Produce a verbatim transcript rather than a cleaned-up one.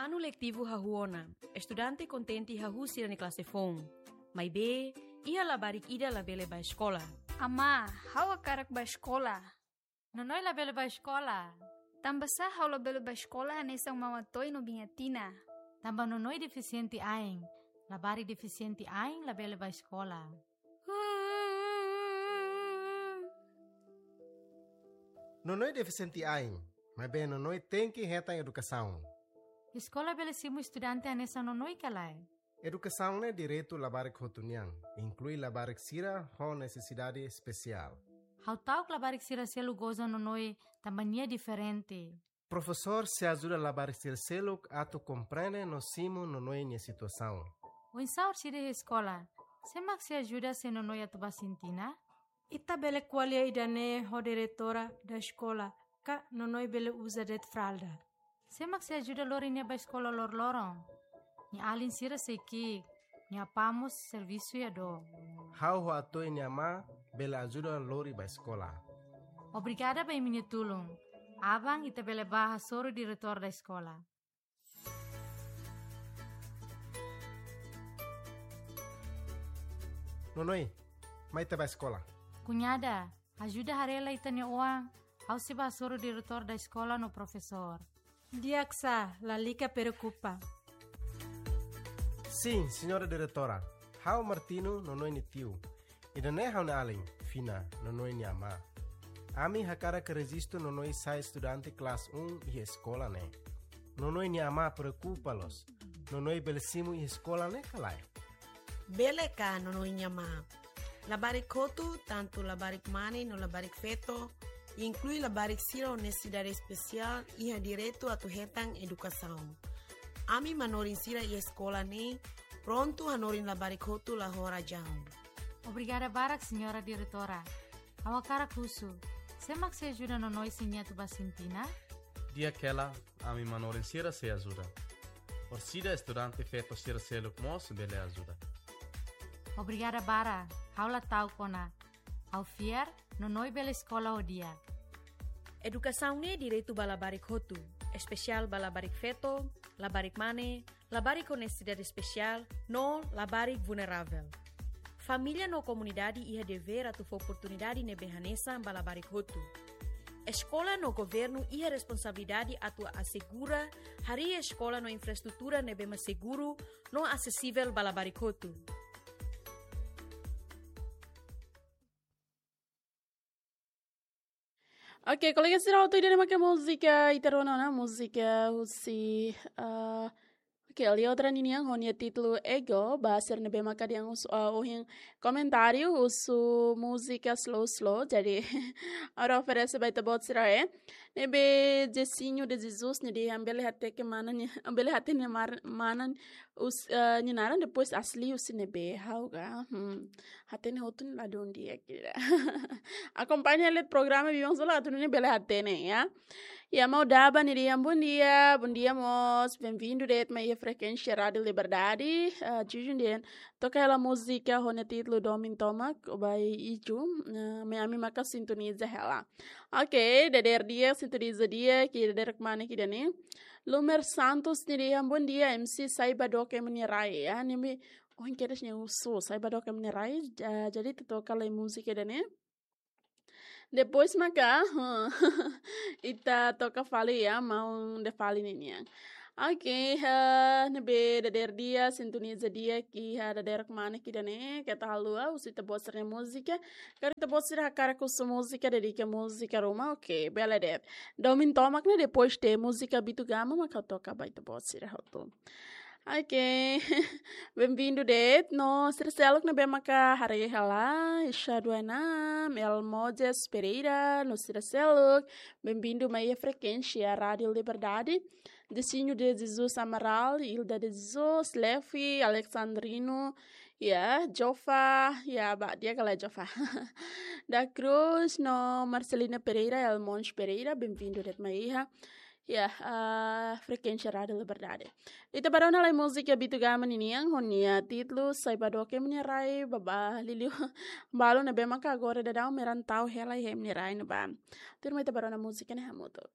Anu letivu hahú ona, estudante kontente hahú sira-nia klase foun. Maibé, iha labarik ida labele bá eskola. Amá, ha'u hakarak bá eskola. Nonoi labele bá eskola. Tanbasá ha'u labele bá eskola hanesan Maun Atoy no Biin Atina? Tanba Nonoi defisiente ain. Labarik defisiente ain labele bá eskola. Nonoi defisiente ain, maibé Nonoi tenke hetan edukasaun. Eskola bele simu estudante hanesan Nonoi ka lae? Edukasaun ne'e direitu labarik hotu nian, inklui labarik sira ho nesesidade espesiál. Ha'u ta'uk labarik sira seluk goza Nonoi tanba nia diferente. Profesór sei ajuda labarik sira seluk atu komprende no simu Nonoi nia situasaun. Oinsá orsida iha eskola? Sé mak sei ajuda se Nonoi atu bá sintina? Ita bele ko'alia ida-ne'e ho diretora da eskola, ka Nonoi bele uza de'it fralda. Sé mak sei ajuda lori nia bá eskola loroloron? Nia alin sira sei ki'ik, nia apá mós servisu iha dook. Ha'u ho Atoy nia amá bele ajuda lori bá eskola. Obrigada ba imi-nia tulun. Aban ita bele bá hasoru diretór da eskola. Nonoi, mai ita bá eskola. Kuñada, ajuda haree lai ita-nia oan, ha'u sei bá hasoru diretór da eskola no profesór. Di'ak sá, lalika preokupa. Sin, señora diretora, ha'u Martino, Nonoi nia tiu. Ida-ne'e ha'u-nia alin, Fina, Nonoi nia amá. Ami hakarak rejistu Nonoi sai estudante klase um iha eskola ne'e. Nonoi nia amá preokupa loos. Nonoi bele simu iha eskola ne'e ka lae? Bele ka, Nonoi nia amá. Labarik hotu, tantu labarik mane no labarik feto, inklui labarik sira ho nesesidade espesiál, iha direitu atu hetan edukasaun. Ami manorin sira iha eskola ne'e prontu hanorin labarik hotu la ho razaun. Obrigada barak, señora diretora. Ha'u hakarak husu, sé mak sei ajuda Nonoi se nia atu bá sintina? Di'ak hela, ami manorin sira sei ajuda. Orsida estudante feto sira seluk mós bele ajuda. Obrigada barak, ha'u la ta'uk ona. Ha'u fiar, Nonoi bele eskola ho di'ak. Edukasaun ne'e direitu ba labarik hotu, espesiál ba labarik feto, labarik mane, labarik ho nesesidade espesiál, no labarik vulneravel. Família no komunidade iha devér atu fó oportunidade ne'ebé hanesan ba labarik hotu. Eskola no governu iha responsabilidade atu asegura harii eskola no infraestrutura ne'ebé mak seguru no asesivel ba labarik hotu. Ok, kolega sira, hotu ida-ne'e maka múzika ita rona ona, múzika husi, ah, ok, Leodra ninian ho nia títulu Ego, ba sira ne'ebé maka dehan husu, ah, ohin komentáriu husu múzika slow slow, jadi ha'u oferese ba ita-boot sira, eh. Ne'ebé Jesinho de Jesus, ne'e dehan bele hateke mana nia, bele hatene mar-, mana us-, eh, nia naran, depois asli husi ne'ebé, ha'u ka. Hmm. Hatene hotu ne'e ladún di'ak kira. Akompaña hela programa biban solo atu nune'e bele hatene, ya. Ya, Mau Daba ne'e dehan bom dia, bom dia mós, bem-vindo de'it mai iha frekuénsia Rádiu Liberdade. Ah, Jujun dehan, toka hela múzika ho nia títulu Domin Tomak, ba Iju, ah, mai ami maka sintoniza hela. Ok, dadeer di'ak, sintoniza di'ak, kira dadeer kemana kira ne'e. Lumer Santos ne'e dehan bom dia, M C sai ba dook ema nia rai, ya, ne'e mi, oh, kira nia husu, sai ba dook ema nia rai, ja-, jadi ita toka lai múzika ida-ne'e. Depois maka, ita toka fali ya, Maun Defali ninian. Ok, ha, ne'ebé dadeer di'ak, sintoniza di'ak, ki ha dadeer kemana kira ne'e, keta haluha, husu ita-boot sira-nia múzika. Karik ita-boot sira hakarak husu múzika, dedika múzika ruma, ok, bele de'it. Domin Tomak ne'e depois de múzika Bitu Gama, maka toka ba ita-boot sira hotu. Ok. Bem-vindo de'it. No sira seluk ne'ebé maka haree hela, Isha Duena, Mel Mojes Pereira, no sira seluk. Bem-vindo mai iha frekuénsia Rádiu Liberdade. Desinho de Jesus Amaral, Hilda de Jesus, Levi, Alexandrino, ya, Jofa, ya, ba, di'ak ka lae Jofa. Da Cruz, no Marcelina Pereira, Elmons Pereira, bem-vindo de'it mai iha. Ya, ah, frekuénsia Rádiu Liberdade. Ita bá rona lai múzika Bitu Gama ninian, ho nia títulu, sai ba dook ema nia rai, bá, bá, liuliu, balu ne'ebé maka agora daudaun merantau hela iha ema nia rai ne'ebá. Tuirmai ita bá rona múzika ne'e hamutuk.